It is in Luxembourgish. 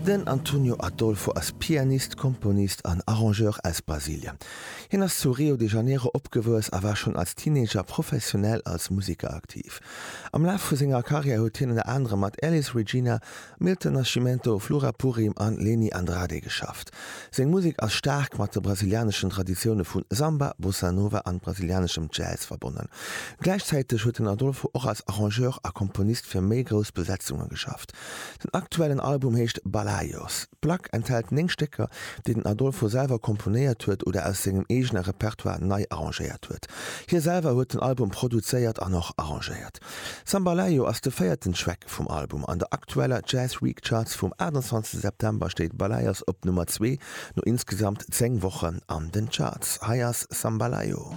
Den Antonio Adolfo ass Pianist, Komponist an Arrangeur aus Brasilien. Hien ass zu Rio de Janeiro opgewuess a war schonn als Teenager professionell als Museker aktiv. Am Laf vu senger Karriär huet hien ënner anerem mat Elis Regina, Milton Nascimento, Flora Purim an Leny Andrade geschafft. Seng Musek ass staark mat de brasilianeschen Traditioune vu Samba, Bossa Nova an brasilianeschem Jazz verbonnen. Gläichzäiteg huet den Adolfo och als Arrangeur a Komponist fir méi grouss Besetzunge geschafft. Den aktuellen Album heescht Balaios. D'Plack enthält 9 Stécker, déi den Adolfo selwer komponéiert huet oder aus sengem eegene Repertoire nei arrangéiert huet. Hie selwer huet den Album produzéiert an och arrangéiert. Sambalaio ass de véierten Track vum Album. An der aktueller Jazz Week Charts vum 28 September steet Balaios op Nummer zwee, no insgesamt 10 Wochen an den Charts. Hei ass Sambalaio.